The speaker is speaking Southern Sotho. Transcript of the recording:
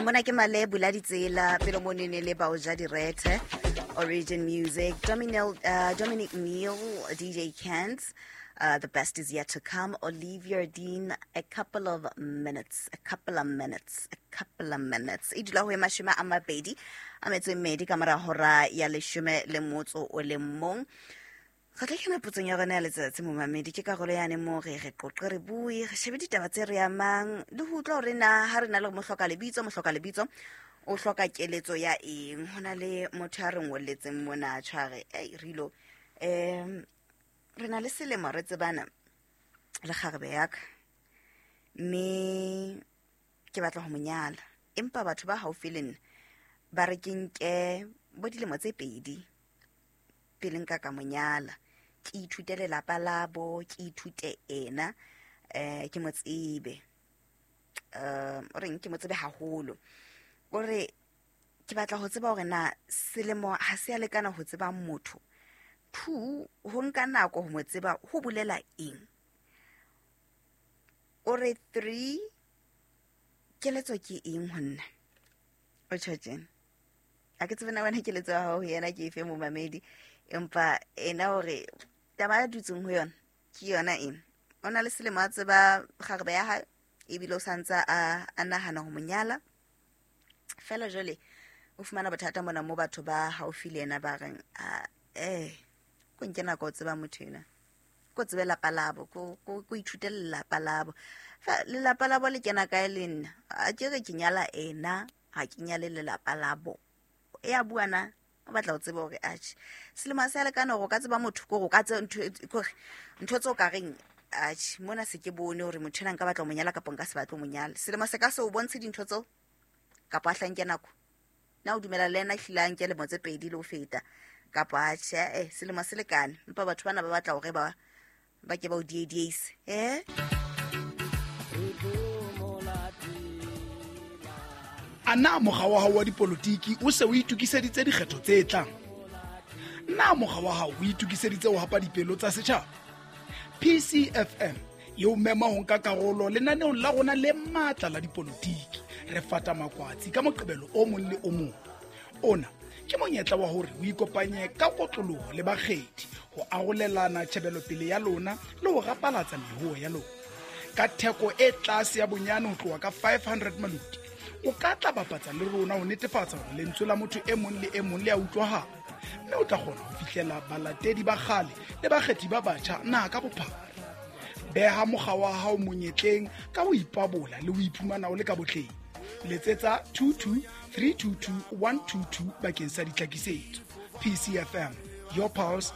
Mona ke male bula ditsela pele mo nene le bao ja direthe, Origin Music, Dominic Neal, DJ Kent, The Best Is Yet to Come, Olivia Dean, A Couple of Minutes, A Couple of Minutes, A Couple of Minutes. E dula ho e 22 ka mora hora ya 11. Re tla kena potsong ya rona ya letsatsi, momamedi. Ke karolo yane mo re re qoqe, re bue, re shebe ditaba tse re amang le ho utlwa hore na ha re na le mohloka lebitso, mohloka lebitso o hloka keletso ya eng. Ho na le motho a re ngolletseng mona tshware ei rilo, re na le selemo re tsebana le kgarebe ya ka, mme ke batla ho mo nyala, empa batho ba haufi le nna ba re ke nke bo dilemo tse 2 pele nka ka mo nyala, ke ithute lelapa labo, ke ithute ena, ke mo tsebe, o reng ke mo tsebe haholo. O re ke batla ho tseba hore na selemo ha se a lekana ho tseba motho, 2 ho nka nako ho mo tseba ho bolela eng. O re 3 keletso ke eng ho nna? O tjho tjena, a ke tsebe na wena keletso ya hao ho yena ke efe, momamedi, empa ena hore taba ya dutseng ho yona ke yona ena. O na le selemo a tseba kgarebe ya hae, ebile o santse a nahana ho mo nyala. Fela jwale o fumana bothata mona mo batho ba haufi le yena ba reng, ko nke nako o tseba motho ena, ko tsebe lapa labo, ko ithute lelapa labo. Fa lelapa labo le kena kae le nna? A ke re ke nyala ena, ha ke nyale lelapa labo. E a bua na, o batla ho tseba hore atjhe selemo se a lekana hore o ka tseba motho, kore o ka tseba ntho, kore ntho tseo ka reng atjhe mona se ke bone hore motho ena nka batla ho mo nyala kapa nka se batle ho mo nyala. Selemo se ka se o bontshe dintho tseo kapa a hlanke nako. Na o dumela le yena ehlile a nke lemo tse 2 le ho feta kapa atjhe, selemo se lekane, empa batho bana ba batla hore ba ke ba o diedieise. A na mokga wa hao wa dipolotiki o se o itokiseditse dikgetho tse tlang? Na mokga wa hao o itokiseditse ho hapa dipelo tsa setjhaba? PCFM e o mema ho nka karolo lenaneong la rona le matla la dipolotiki. Re fata makwatsi ka Moqebelo o mong le o mong. Ona ke monyetla wa hore o ikopanye ka kotloloho le bakgethi ho arolelana tjhebelopele ya lona le ho rapalatsa mehoho ya lona. Ka theko e tlase ya bonyane ho tloha ka 500 maluti, o ka tla bapatsa le rona ho netefatsa hore lentswe la motho e mong le e mong le a utlwahala, mme o tla kgona ho fihlela balatedi ba kgale le bakgethi ba batjha naha ka bophara. Beha mokga wa hao monyetleng ka ho ipabola le ho iphumana o le ka botleng. Letsetsa 22 322 122 bakeng sa ditlhakisetso. PCFM, your pulse.